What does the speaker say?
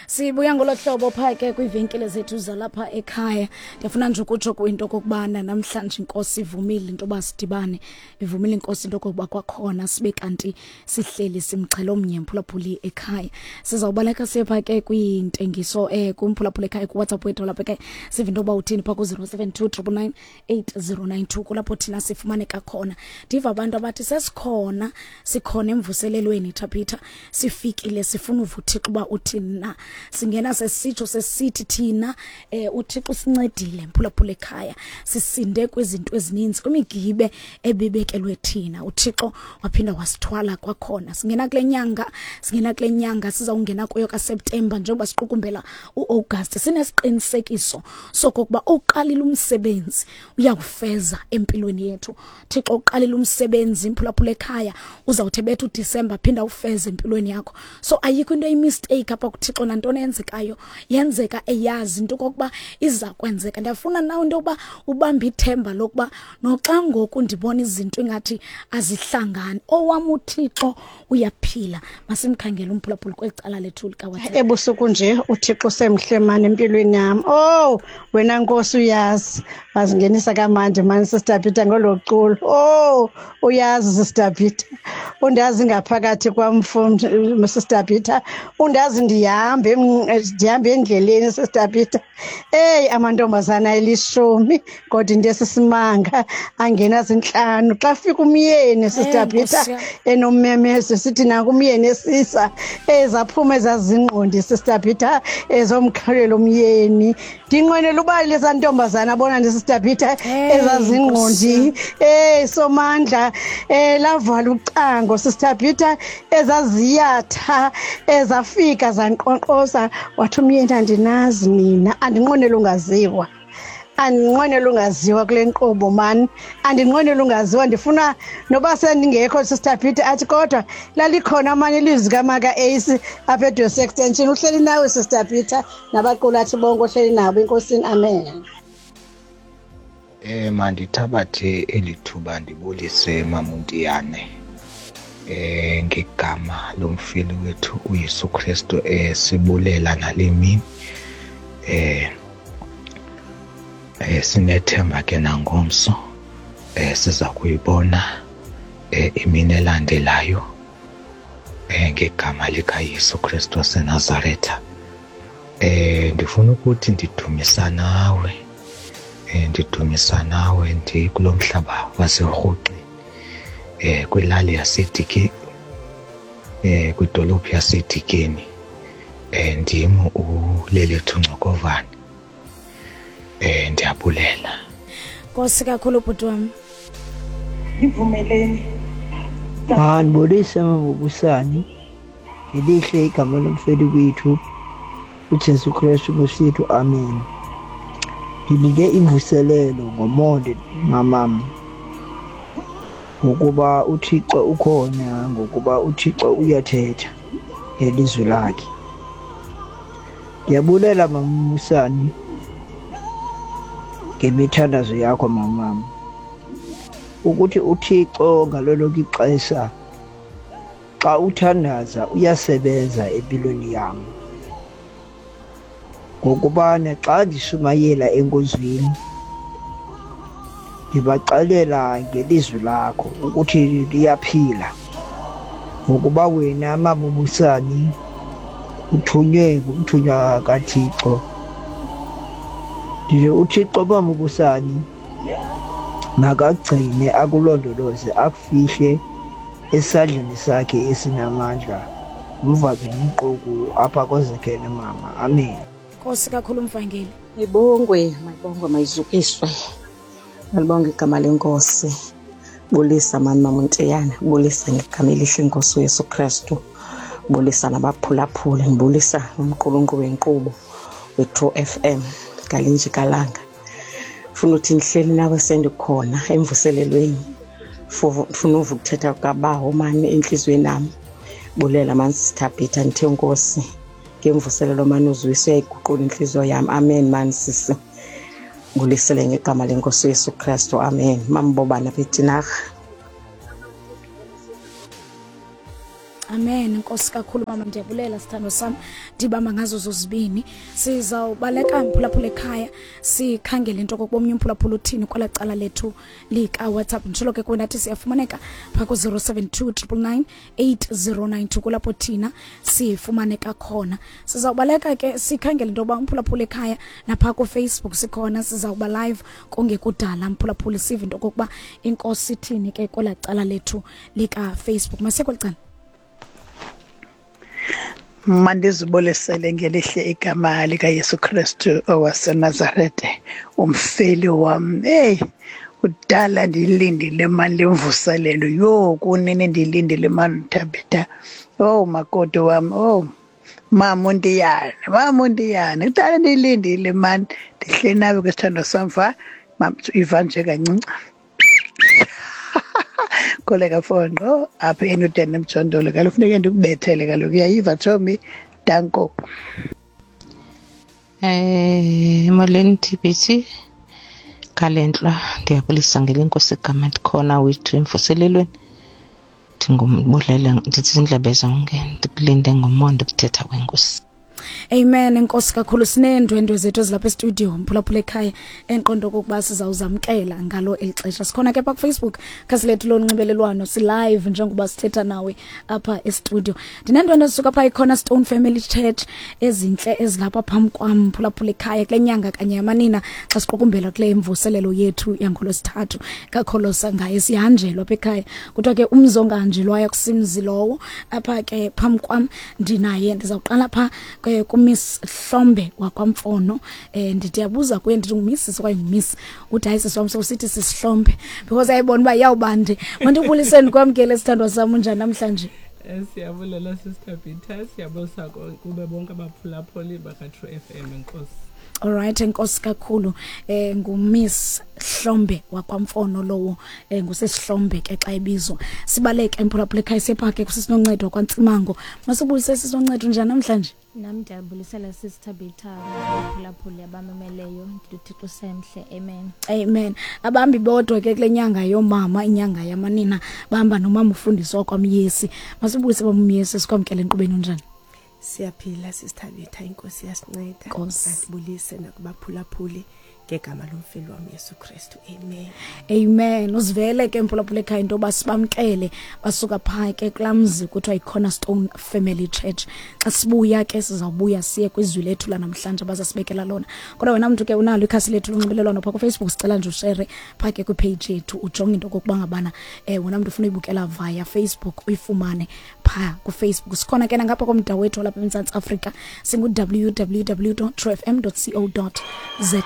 Sibuya ngolo hlobo phaa ke kwiivenkile zethu zalapha ekhaya. Ndiyafuna nje ukutsho kwinto okokubana namhlanje inkosi ivumile into yoba sidibane, ivumile inkosi into okokuba kwakhona sibe kanti sihleli simxhelo omnye mphulaphuli ekhaya. Sizawubaleka siye phaa ke kwiintengiso kumphulaphuli ekhaya kuWhatsApp wethu lapha ekhaya, sive into yoba uthini phaa ku-072 999 8092 kulapho thina sifumaneka khona. Ndiva abantu abathi sesikhona, sikhona emvuselelweni Thabitha, sifikile sifuna uva uThixo uba uthini na. Singena sesitsho sesithi thina uThixo usincedile mphulaphula ekhaya, sisinde kwizinto ezininzi, kwimigibe ebibekelwe thina. uThixo waphinda wasithwala kwakhona. Singena kule nyanga, singena kule nyanga sizawungena kuyo kaSeptemba, njengoba siqukumbela uAugust, sinesiqinisekiso sokokuba uqalile umsebenzi uyakufeza empilweni yethu. Thixo uqalile umsebenzi mphulaphula ekhaya, uzawuthi bethu uDisemba phinda ufeze empilweni yakho. So ayikho into eyimistake apha kuThixo, nantoni eyenzekayo yenzeka eyazi into okokuba iza kwenzeka. Ndiyafuna nawe into yokuba ubambe ithemba lokuba noxa ngoku ndibona izinto ingathi azihlangani, owam uThixo uyaphila. Masimkhangele umphulaphuli kweli cala lethu likaWhatsApp. Ebusuku nje uThixo semhle mani empilweni yam. Oh wena Nkosi uyazi, wazingenisa kamandi mani Sister Peter ngolo culo. Oh uyazi Sister Peter, undazi ngaphakathi kwam Sister Peter, undazi ndihambe endleleni Sister Peter. Eyi amantombazana elishumi kodwa into esisimanga angena zintlanu. Xa fika umyeni Sister Peter enommemezo sithi nanku umyeni esisa, ezaphuma ezazingqondi Sister Peter ezomkhalela umyeni. Ndinqwenela uba leza ntombazana abona nje Sister Peter ezazingqondi. Somandla, lavala ucango Sister Peter, ezaziyatha ezafika zanqonqoza, wathi umyeni andinazi nina, andinqwenela ungaziwa. Andinqwenela ungaziwa kule nkqubo mani, andinqwenela ungaziwa, ndifuna noba sendingekho Sister Peter athi kodwa lalikhona amanye ilizwi kamaka Ace apha eDosi Extension. Uhleli nawe Sister Peter nabaqulathi bonke ohleli nabo enkosini, amen. Mandithabathe eli thuba ndibulise Mamuntiyane ngegama lomfeli wethu uYesu Kristu, sibulela nale mini. Sinethemba ke nangomso siza kuyibona imini elandelayo ngegama likaYesu Kristu waseNazaretha. Ndifuna ukuthi ndidumisa nawe, ndidumisa nawe ndikulo mhlaba waseRhoxi, kwilali yaseDikeni, kwidolophu yaseDikeni. Ndim uLelethu Ngcokovane. Ndiyabulela. Nkosi kakhulu bhuti wam. Ivumeleni. Ndibulise Mabubusani ngelihle igama lomfeli wethu uJesu Kristu Nkosi yethu, amen. Ndinike imvuselelo ngomonde mamam, ngokuba uThixo ukhona, ngokuba uThixo uyathetha ngelizwi lakhe. Ndiyabulela Mamusani ngemithandazo yakho mamam, ukuthi uThixo ngalo lonke ixesha xa uthandaza uyasebenza empilweni yam. Ngokubana xa ndishumayela enkonzweni ndibaxelela ngelizwi lakho ukuthi liyaphila, ngokuba wena Mabubusani uthunywe ngumthunywa kaThixo. Ndithi uThixo Mabubusani makagcine akulondoloze akufihle esandleni sakhe esinamandla. Umvake nomquku apha kozekele mama, amen. Nkosi kakhulu mvangeli. Mayibongwe, mayibongwe, mayizukiswe. Malibonge igama lenkosi. Bulisa mani Mamuntiyana, bulisa ngegama elihle inkosi uYesu Kristu. Bulisa nabaphulaphuli, ndibulisa umqulunqu wenkqubo we-True FM ngalinje kalanga. Funa uthi ndihleli nawe sendikhona emvuselelweni. Funa uva ukuthetha kukabawo mani entliziyweni yam. Bulela mani Sister Peter, ndithe nkosi ngemvuselelo mani uzuyise uyayiguqula intliziyo yam. Amen mani sisi. Bulisele ngegama lenkosi uYesu Kristu, amen. Mambobana betinarha. Amen. Nkosi. Enkosi kakhulu mama, ndiyabulela sithando sam. Ndibamba ngazo zozibini. Sizawubaleka mphulaphula ekhaya, sikhangele into okokuba omnye umphulaphula uthini kwela cala lethu lika-WhatsApp. Nditshilo ke kuwe ndathi siyafumaneka phaa ku-072 999 8092, kulapho thina sifumaneka khona. Sizawubaleka ke sikhangele into yoba umphulaphula ekhaya naphaa kuFacebook sikhona, sizawuba live kungekudala mphulaphula, sive into okokuba inkosi ithini ke kwela cala lethu likaFacebook. Masiye kweli cala. Mandizibulisele ngelihle igama likaYesu Kristu owaseNazarete, umfeli wam. Hey, kudala ndiyilindile mani le mvuselelo. Yho, kunini ndiyilindile mani, Thabitha. Oh, makoti wam, oh mama uNtiyane, mama uNtiyane, kudala ndiyilindile mani. Ndihleli nawe ke sithandwa sam, va iva nje kancinci. Koleka fonqo apha eNewton emjondolo, kaloku funeke ndikubethele kaloku, uyayiva tshomi. Danko. Molweni TBT Khalentlwa, ndiyabulisa ngelenkosi igama, ndikhona wethu emvuselelweni. Ndingumbulele, ndithi zindlebe zonke, ndikulinde ngomonde ukuthetha kwenkosi. Amen, enkosi kakhulu. Sineendwendwe zethu ezilapha estudio mphulaphula ekhaya, endiqonda okokuba sizawuzamkela ngalo eli xesha. Sikhona ke pha kuFacebook, khasi lethu lonxibelelwano, silive njengoba sithetha nawe apha estudio. Ndineendwendwe ezisuka pha iCornerstone Family Church ezintle ezilapha phambi kwam mphulaphula ekhaya, kule nyanga kanye yamanina, xa siqukumbela kule mvuselelo yethu yangolwesithathu kakholosa ngaye sihanjelwa apha ekhaya. Kuthiwa ke umzi ongahanjelwayo akusimzi lowo. Apha ke phambi kwam ndinaye, ndizawuqala pha kuMiss Hlombe wakwaMfono. Ndithi yabuza kuye, ndithi nguMiss okanye nguMiss, uthi hayi sisi wam, sowusithi sisihlombe because ayibona uba iyawubande. Mandibuliseni kwamkele sithandwa sam, unjani namhlanje? Siyabulela Sister Peter, siyabulisa kube bonke abaphulaphuli baka-True FM, enkosi. Alright, enkosi kakhulu. NguMiss Hlombe wakwaMfono lowo, ngusesihlombe ke xa ebizwa. Sibaleke emphulaphula ekhaya sephake kusisinoncedo kwaNtsimango. Masibulise sisinoncedo, njani namhlanje? Nam ndiyabulisela Sister Peter, abaphulaphuli abamameleyo, ndithi uThixo semhle, amen. Amen. Abambi bodwa ke kule nyanga yoomama, inyanga yamanina, bahamba nomama ufundisi wakwamyesi. Masibulise bamyesi, sikwamkele enkqubeni, unjani? Siyaphila Sister Betha, inkosi yasinceda. Nkosi. Andibulise nakubaphulaphuli ngegama lomfeli wam Yesu Kristu, amen. Amen. Uzivele ke mphulaphula ekhaya into yoba sibamkele basuka phaa ke kulaa mzi kuthiwa yiCornerstone Family Church. Xa sibuya ke sizawubuya siye kwizwi lethu lanamhlanje abazasibekela lona. Kodwa wena mntu ke unalo ikhasi lethu lonxibelelwano phaa kuFacebook, sicela nje ushere phaa ke kwipage yethu, ujonge into okokuba ngabana wena mntu ufuna uyibukela via Facebook uyifumane phaa kuFacebook. Sikhona ke nangapha komda wethu walapha eMzantsi Afrika, singu-www truefm co za.